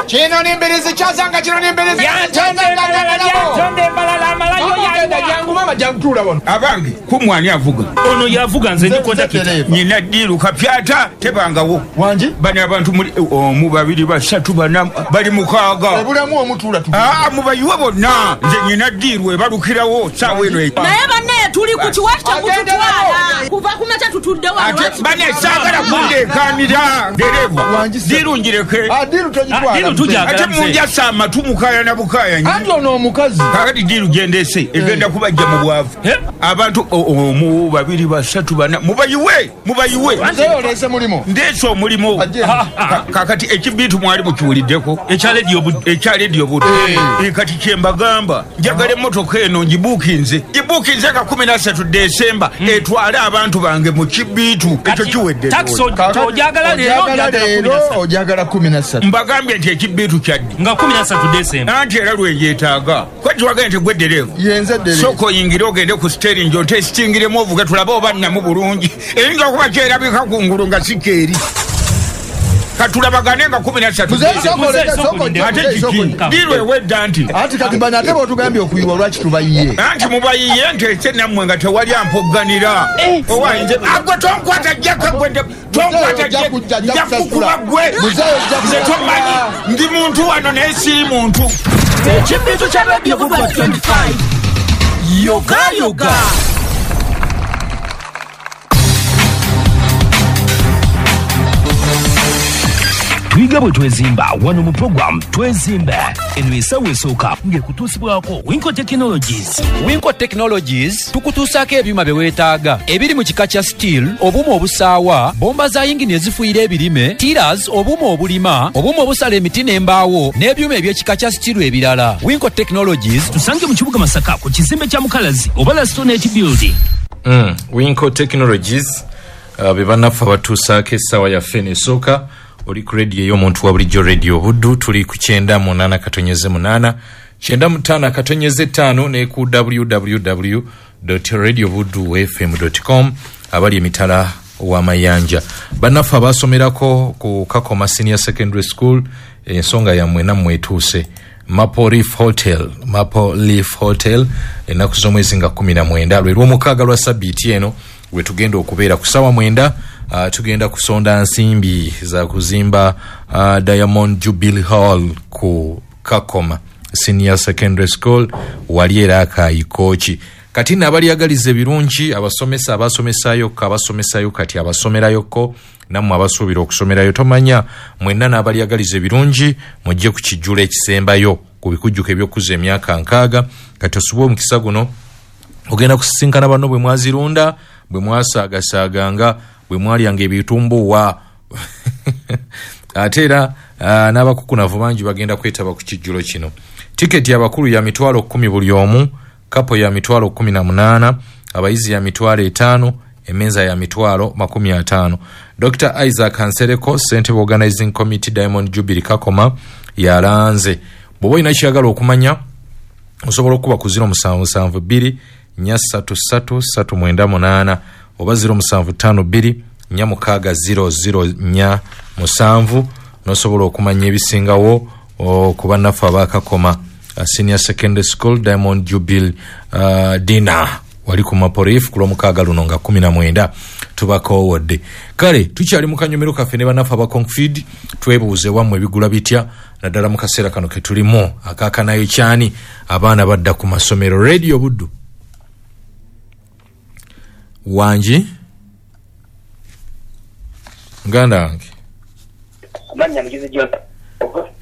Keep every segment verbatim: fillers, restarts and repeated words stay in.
Kino nembirizi kyazanga kino nembirizi. Yantonde mbalala amalayo yange. Jangu mama jangu tula wano. Abange kumwani avuga. Ono yavuga nze ndi kondakita. Nina diru kapyata tebangawo. Wanji? Bani abantu muli omu babiri basatu bana bali mukaaga. Obulamu omutula tu. Ah mubayiwe bonna. Nze nina diru ebalukirawo sawa eno. Naye banne tuli ku kiwakita kututwala. Kuva ku makya tutudde wano. Ate banne saagala kundeekaanira. Dereva. Diru njireke. Ah diru togitwala. Diru tujagala. Ate munja sama tumukaya na bukaya. Anti ono omukazi. Kakati diru gendese egenda kubajja mu bwavu. Abantu omu babiri basatu bana mubayiwe mubayiwe. Nze olese mulimo. Ndeese omulimo. Kakati ekibitu mwali mukiwuliddeko. Ekya Radio Buddu. Ekya Radio Buddu. Kati kye mbagamba njagala emmotoka eno ngibuukinze. Ngibuukinze ka kumi na ssatu Desemba etwale abantu bange mu kibitu. Ekyo kiwedde. Taxi ojagala leero ojagala kumi na ssatu. Mbagambye nti ekibitu kyaddi. Nga kumi na ssatu Desemba. Anti era lwe yeetaaga. Kwati wagenda nti gwe ddereeva. Yenze ddereeva. Sooka oyingire ogende ku steering otesitingiremu ovuge tulabe oba nnamu bulungi. Eyinza okuba kyerabika ku ngulu nga si keeri. Katulabagane nga kumi na ssatu. Ate kiki? Diru ewedda nti. Anti kati bano ate bw'otugambye okuyiwa lwaki tubayiye? Anti mubayiye nti ese nammwe nga tewali ampogganira. Owa nze agwe tonkwata jjaka gwe tonkwata nja kukuba gwe. Nze tomanyi ndi muntu wano naye si muntu. Ekibitu kya Radio Buddu twenty-five. Yoga yoga. Tuyiga bwe twezimba wano mu program Twezimba eno esawa esooka ng'ekutuusibwako Winco Technologies. Winco Technologies tukutuusaako ebyuma bye weetaaga ebiri mu kika kya steel, obuuma obusaawa, bomba za yingini ezifuuyira ebirime, tillers, obuuma obulima, obuuma obusala emiti n'embaawo n'ebyuma eby'ekika kya steel ebirala. Winco Technologies tusange mu kibuga Masaka ku kizimbe kya Mukalazi oba Lastonet Building. Mm, Winco Technologies uh, be bannaffe abatuusaako essaawa yaffe eno esooka. Oli ku radio ey'omuntu wa bulijjo Radio Buddu, tuli ku kyenda munaana katonyeze munaana kyenda mutaano katonyeze ttaano ne ku w w w dot radio buddu f m dot com abali emitala w'amayanja. Bannaffe abasomerako ku Kakoma Senior Secondary School, ensonga yammwe nammwe etuuse. Maple Leaf Hotel, Maple Leaf Hotel ennaku z'omwezi nga kumi na mwenda lwe lw'omukaaga lwa sabbiiti eno we tugenda okubeera ku ssaawa mwenda. Uh, tugenda kusonda nsimbi za kuzimba uh, Diamond Jubilee Hall ku Kakoma Senior Secondary School wali era akayikooki. Kati n'abalyagaliza ebirungi abasomesa abasomesayokko abasomesayo kati abasomerayokko nammwe abasuubira okusomerayo tomanya mwenna n'abalyagaliza ebirungi mujje ku kijjulo ekisembayo ku bikujjuko eby'okuza emyaka nkaaga. Kati osubwe omukisa guno ogenda kusisinkana banno bwe mwazirunda bwe mwasaagasaganga bwe mwalyanga ebitumbuwa. Ate era uh, n'abakukunavu bangi bagenda kwetaba ku kijjulo kino. Tiketi y'abakulu ya mitwalo kkumi buli omu, kapo ya mitwalo kkumi na munaana, abayizi ya mitwalo etaano, emmeeza ya mitwalo makumi ataano. Doctor Isaac Nsereko, Ssentebe Organizing Committee Diamond Jubilee Kakoma yalanze. Bw'oba olina ky'oyagala okumanya osobola okuba ku ziro musanvu musanvu bbiri nnya ssatu ssatu ssatu mwenda munaana oba ziro musanvu ttaano bbiri nnya mukaaga ziro ziro nnya musanvu n'osobola okumanya ebisingawo ku bannaffe abakakoma Senior Secondary School Diamond Jubilee uh, Dinner wali ku Maple Leaf ku lwomukaaga luno nga kumi na mwenda tubakoowodde. Kale tukyali mu kanyomero kaffe ne bannaffe aba Confid, twebuuze wammwe ebigula bitya naddala mu kaseera kano ke tulimu akaakanayo kyani abaana badda ku masomero. Radio Buddu wangi muganda wange.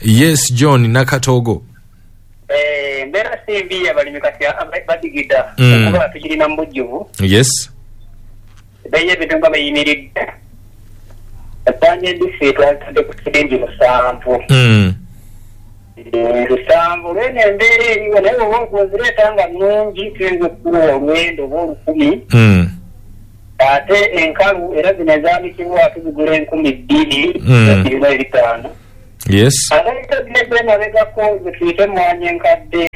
Yes, John Nakatogo. Eh, mbeera simbi abalimi kati badigida okuba tukirina mu bujjuvu. Yes. Ebbeeyi y'ebintu nga beyimiridde. Ebbanja embisi twalitadde ku siringi musanvu. Lusanvu lweno embeera eriwo naye oba ozireeta nga nnungi tuyinza okukuwa olwendo oba olukumi. Ate enkalu era zino ezaanikibwa tuzigula enkumi bbiri zirina ebitaano. Yes. Ate zino emabegako ze tuyite emmwanyi enkadde.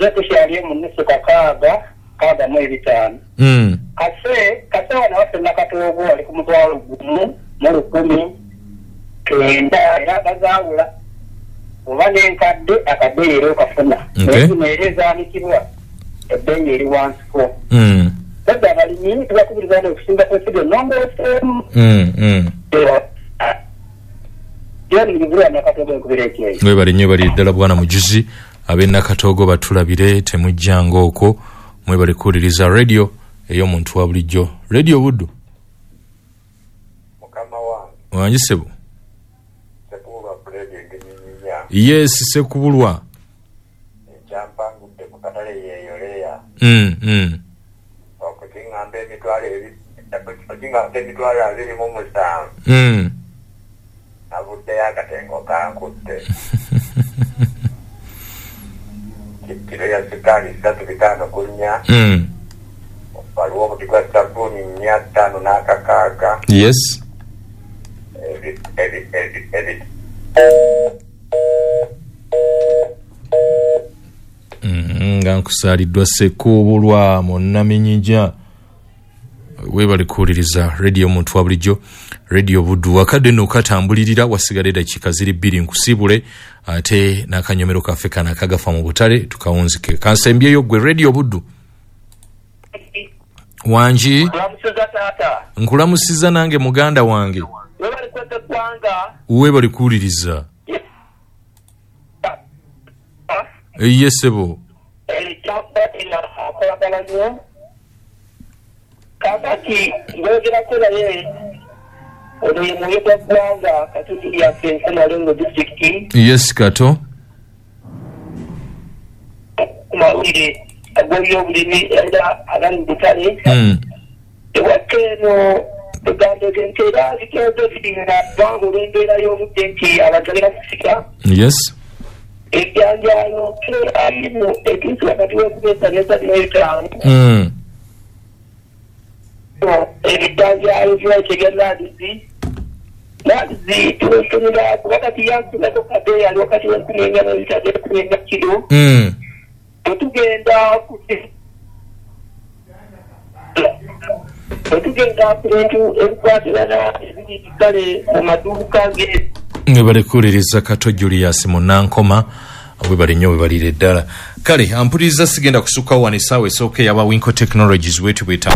Zo tukyali mu nusu kakaaga kakaaga mu ebitaano. Kase kase wano waffe Nakatoogo ali ku mutwalo gumu mu lukumi kenda era bazaawula. Oba n'enkadde akabbeeyi era okafuna. Okay. Naye zino era ezaanikibwa ebbeeyi eri wansiko. Mm. Sadde abalimi tubakubiriza nti okusimba kw'ensigo ennongooseemu. Mm, mm. John Mujibulwa Nakatoogo enkubira ekyeyo. Webale nnyo, bali ddala bwana Mujuzi ab'e Nakatoogo batulabire, temujjanga okwo. Mwebale kuwuliriza radio ey'omuntu wa bulijjo, Radio Buddu. Mukama wange. Wangi ssebo. Ssekubulwa Fred Engenyinya. Yes, Ssekubulwa. Ekyampangudde ku katale yeeyoleya. Mm, mm. Okukiŋŋamba emitwalo ebi- okukiŋŋamba emitwalo abiri mu musanvu. Mm. Navuddeyo akatengo kankutte. Kiro ya sikaali ssatu bitaano ku nnya. Mm. Waliwo obuti gwa sabbuuni nnya ttaano n'akakaaga. Yes. Ebi- ebi- ebi- ebi- Mm, nga nkusaaliddwa Ssekubulwa munnaminyija. Weebale kuwuliriza radio omuntu wa bulijjo, Radio Buddu. Akadde nno katambulirira, wasigala eddakiika ziri bbiri nkusiibule, ate n'akanyomero kaffe kano akagafa mu butale tukawunzike. Kansembyeyo ggwe Radio Buddu. Wangi. Nkulamusiza taata. Nkulamusiza nange muganda wange. Webale kweza eggwanga. Weebale kuwuliriza. Ye ssebo. Akolagana nnyo. Kaakati ng'ogerako naye ono ye mwoyo gwa ggwanga Katundu lyaffe Nkomalengo disitulikiti. Yes, Kato. Ku mawulire ag'ebyobulimi era agali mu butale. Mm. Ewaka eno egamba nti era ziteezo zirina kubanga olw'embeera y'obudde nti abantu bagenda kusika. Yes. Ebyanjalo alimu etuusi wakati w'enkumi esatu n'esatu n'ebitaano. Mm. Ebijanjaalo by'ekyo ebya naadizi naadizi tuwesomera kuba kati yansunako kabeeyi ali wakati w'enkumi ennya n'ebitaano enkumi ennya kiro. Mm. Bwe tugenda ku bwe tugenda ku bintu ebikwatirana ebiri kale mu maduuka ge. Webale kuwuliriza Kato Julius Munankoma, webale nnyo, webalire ddala. Kale ampuliriza, sigenda kusukkawo wano essaawa esooka eyaba Winco Technologies wetu bweta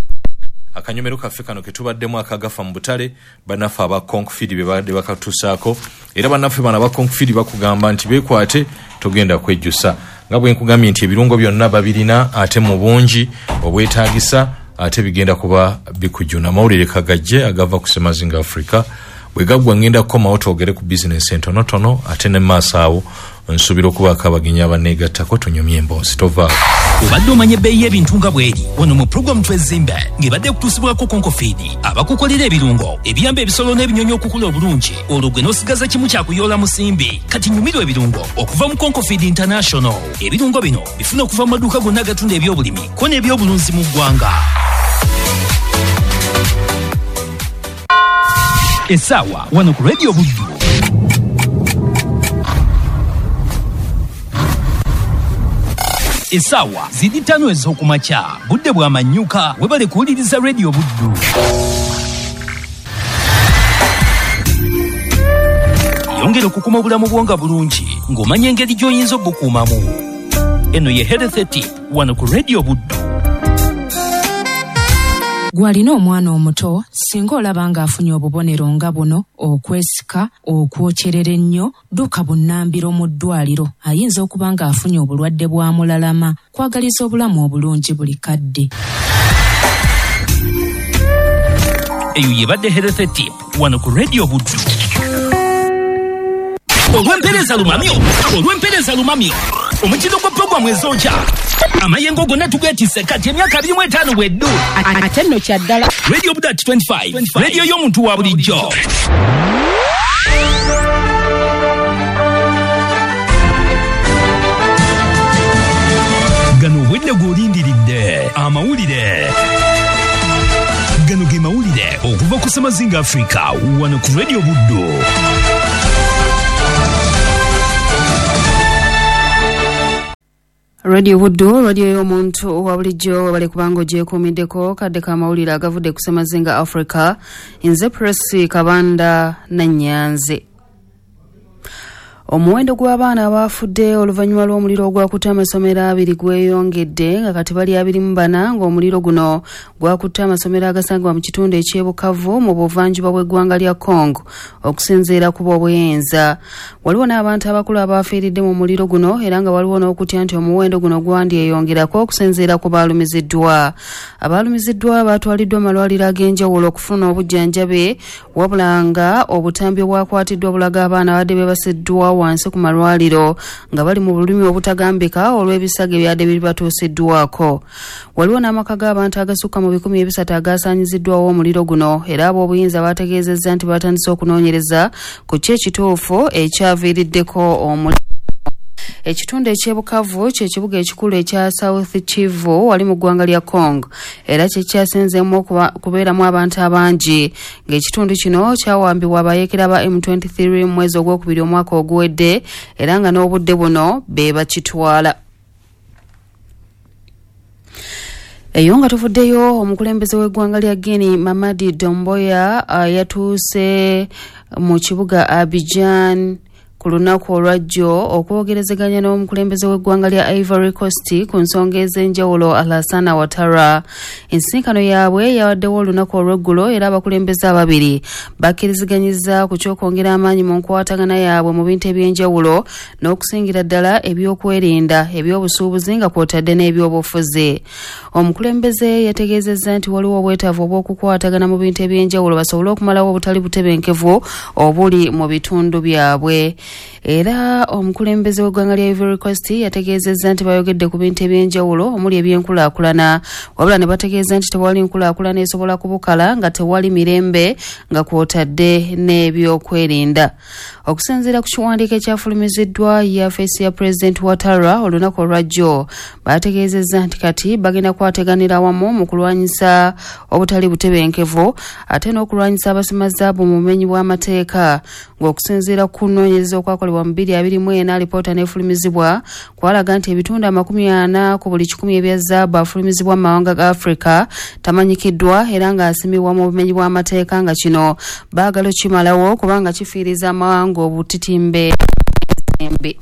akanyomero kaffe kano ketubaddemu akagafa mu butale. Bannaffe aba Concfeed be babadde bakatuusaako, era bannaffe bano aba Concfeed bakugamba nti beekwate, togenda kwejjusa. Nga bwe nkugambye nti ebirungo byonna babirina ate mu bungi obwetaagisa, ate bigenda kuba bikujuna. Amawulire kagajje agava ku Semazinga Africa bwe gaggwa, ngenda kukomawo twogere ku bizinensi entonotono, ate ne maaso awo nsuubira okubaako abagenyi abaneegattako tunyumye emboozi. Tovaako. Obadde omanya ebbeeyi y'ebintu nga bw'eri wano mu pulogulaamu Twezimbe ng'ebadde ekutuusibwako Concofeed, abakukolera ebirungo ebiyamba ebisolo n'ebinyonyi okukula obulungi, olwo gwe n'osigaza kimu kyakuyoola musimbi. Kati nyumirwa ebirungo okuva mu Concofeed International. Ebirungo bino bifuna okuva mu maduuka gonna agatunda ebyobulimi ko n'ebyobulunzi mu ggwanga. Essaawa wano ku Radio Buddu essaawa ziri ttaano ez'okumakya, budde bwa manyuka. Webale kuwuliriza Radio Buddu. Yongera okukuma obulamu bwo nga bulungi ng'omanya engeri gy'oyinza obukuumamu. Eno ye Health Tip wano ku Radio Buddu. Gw'alina omwana omuto, singa olaba ng'afunye obubonero nga buno: okwesika, okwokyerera ennyo, dduka bunnambiro mu ddwaliro, ayinza okuba ng'afunye obulwadde bwa mulalama. Kwagaliza obulamu obulungi buli kadde. Eyo yebadde Health Tip wano ku Radio Buddu. Olw'empeereza lumamyo, olw'empeereza lumamyo, omutindo gwa pulogulaamu ezookya amayengo gonna tugeetisse kati emyaka abiri mu etaano bweddu. Ate nno kya ddala. Radio Buddu at twenty-five, radio y'omuntu wa bulijjo. Gano obwedde gw'olindiridde amawulire. Gano ge mawulire okuva ku Semazinga Africa wano ku Radio Buddu. Radio Buddu, radio y'omuntu wa bulijjo. Webale kubanga ogyekuumiddeko kadde k'amawulire agavudde ku Semazinga Africa. Nze Presi Kabanda Nannyanze. Omuwendo gw'abaana abaafudde oluvannyuma lw'omuliro ogwakutte amasomero abiri gweyongedde nga kati bali abiri mu bana, ng'omuliro guno gwakutte amasomero agasangibwa mu kitundu eky'e Bukavu mu buvanjuba bw'eggwanga lya Congo okusinziira ku b'obuyinza. Waliwo n'abantu abakulu abafiiridde mu muliro guno era nga waliwo n'okutya nti omuwendo guno gwandyeyongerako okusinziira ku baalumiziddwa. Abaalumiziddwa baatwaliddwa mu malwaliro ag'enjawulo okufuna obujjanjabi, wabula nga obutambi obwakwatiddwa bulaga abaana abadde beebasiddwa wansi ku malwaliro nga bali mu bulumi obutagambika olw'ebisago ebyadde bibatuusiddwako. Waliwo n'amaka g'abantu agasukka mu bikumi ebisatu agasaanyiziddwawo omuliro guno, era ab'obuyinza baategeezezza nti batandise okunoonyereza ku ki ekituufu ekyaviiriddeko omuliro. Ekitundu eky'e Bukavu kye kibuga ekikulu ekya South Kivu wali mu ggwanga lya Congo, era kye kyasinzeemu okubeeramu abantu abangi, ng'ekitundu kino kyawambibwa abayeekera ba M twenty-three mu mwezi ogwokubiri omwaka oguwedde, era nga n'obudde buno be bakitwala. Eyo nga tuvuddeyo, omukulembeze w'eggwanga lya Guinea Mamadi Doumbouya yatuuse mu kibuga Abidjan ku lunaku olwajjo okwogerezeganya n'omukulembeze w'eggwanga lya Ivory Coast ku nsonga ez'enjawulo Alassane Ouattara. Ensisinkano yaabwe yabaddewo olunaku olw'eggulo, era abakulembeze ababiri bakkiriziganyizza ku ky'okwongera amaanyi mu nkwatagana yaabwe mu bintu eby'enjawulo n'okusingira ddala ebyokwerinda, ebyobusuubuzi nga kw'otadde n'ebyobufuzi. Omukulembeze yategeezezza nti waliwo obwetaavu obw'okukwatagana mu bintu eby'enjawulo basobole okumalawo obutali butebenkevu obuli mu bitundu byabwe. Era omukulembeze w'eggwanga lya Ivory Coast yategeezezza nti bayogedde ku bintu eby'enjawulo omuli ebyenkulaakulana, wabula ne bategeeza nti tewali nkulaakulana esobola kubukala nga tewali mirembe nga kw'otadde n'ebyokwerinda. Okusinziira ku kiwandiiko ekyafulumiziddwa yafeesi ya Pulezidenti Ouattara olunaku olwajjo, bategeezezza nti kati bagenda kwateganira wamu mu kulwanyisa obutali butebenkevu ate n'okulwanyisa abasima zaabu mu bumenyi bw'amateeka, ng'okusinziira ku kunoonyereza okwakolebwa mu bbiri abiri mu ena alipoota n'efulumizibwa kwalaga nti ebitundu amakumi ana ku buli kikumi ebya zaabu afulumizibwa mu mawanga ga Afrika tamanyikiddwa era ng'asimibwa mu bumenyi bw'amateeka, nga kino baagala okukimalawo kubanga kifiiriza amawanga obutitimbe embi.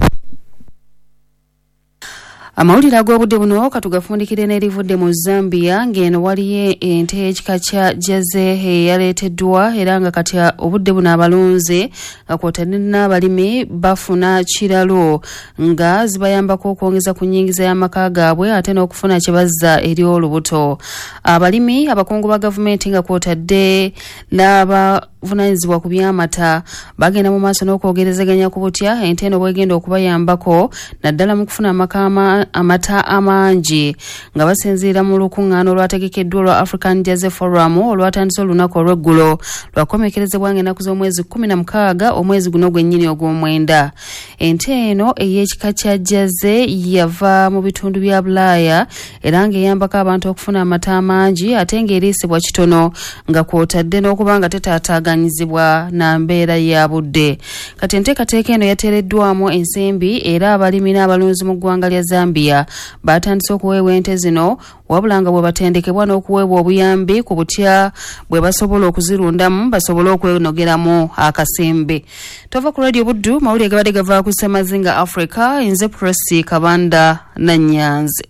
Amawulire ag'obudde buno katugafundikire n'erivudde mu Zambia, ng'eno waliyo ente y'ekika kya Jersey eyaleeteddwa, era nga kati obudde buno abalunzi nga kw'otadde n'abalimi bafuna kiralo nga zibayambako okwongeza ku nnyingiza y'amaka gaabwe ate n'okufuna kye bazza eri olubuto. Abalimi, abakungu ba gavumenti nga kw'otadde n'aba vunaanyizibwa ku by'amata bagenda mu maaso n'okwogerezeganya ku butya ente eno bwegenda okubayambako naddala mu kufuna amaka amata amangi, nga basinziira mu lukuŋŋaana olwategekeddwa olwa African Jersey Forum olwatandise olunaku olw'eggulo lwakomekerezebwa ng'ennaku z'omwezi kkumi na mukaaga omwezi guno gwennyini ogw'omwenda. Ente eno ey'ekika kya Jersey yava mu bitundu bya Bulaaya era ng'eyambako abantu okufuna amata amangi ate ng'eriisibwa kitono nga kw'otadde n'okuba nga tetaataaganyizibwa na mbeera ya budde. Kati enteekateeka eno yateereddwamu ensimbi era abalimi n'abalunzi mu ggwanga lya Zambia batandise okuweebwa ente zino, wabula nga bwe batendekebwa n'okuweebwa obuyambi ku butya bwe basobola okuzirundamu basobole okwenogeramu akasimbi. Tova ku Radio Buddu, mawulire gabadde gava ku Ssemazinga Africa, nze Prossy Kabanda Nannyanzi.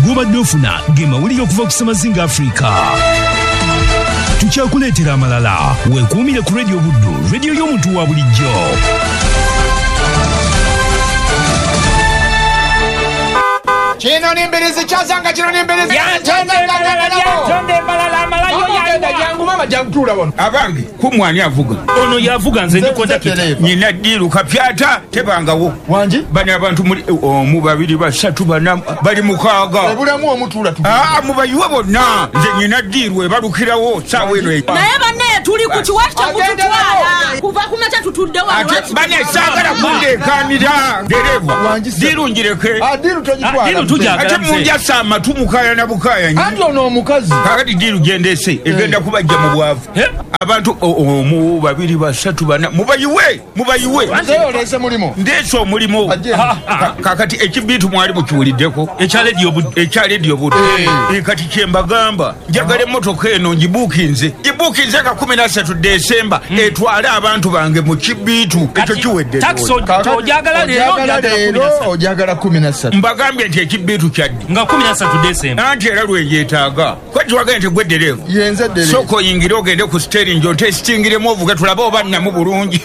Gobadde ofuna ge mawulire okuva ku Ssemazinga Africa. Tukyakuleetera amalala. Weekuumire ku Radio Buddu, radio y'omuntu wa bulijjo. Kino nimbirizi kyazanga kino nimbirizi abange kumwani avuga ono yavuga nze ndi kondakita nyina ddiru kapyata tebangawo wangi bano abantu muli omu babiri basatu bana bali mukaaga ebulamu omutuula tu aa mubayiwe bonna nze nyina ddiru ebalukirawo ssaawa eno naye banne tuli ku kiwaki kyemututwala kuva ku makya tutudde wano ate bane saagala kundeekaanira dereva ddiru ngireke ddiru togitwala ate munjasa amatu mukayana bukayanya anti ono omukazi kakati ddiru gyendese egenda kubajja mu mu bwavu. Abantu omu, babiri, basatu, bana, mubayiwe, mubayiwe. Oleese mulimu. Ndeese omulimu. Kakati ekibiitu mwali mukiwuliddeko. Ekya Lediyo Buddu. Ekya Lediyo Buddu. Kati kyembagamba, njagala emmotoka eno ngibuukinze. Ngibuukinze ka kumi na ssatu Desemba etwale abantu bange mu kibiitu. Ekyo kiwedde. Taxi ojagala leero ojagala kumi na ssatu. Mbagambye nti ekibiitu kyaddi. Nga kumi na ssatu Desemba. Anti era lweyeetaaga. Kwati wagambye nti gwe ddereeva. Yenze ddereeva. Sooka oyingire ogende ku steering ontesitingiremu ovuge tulabe oba nnamu bulungi.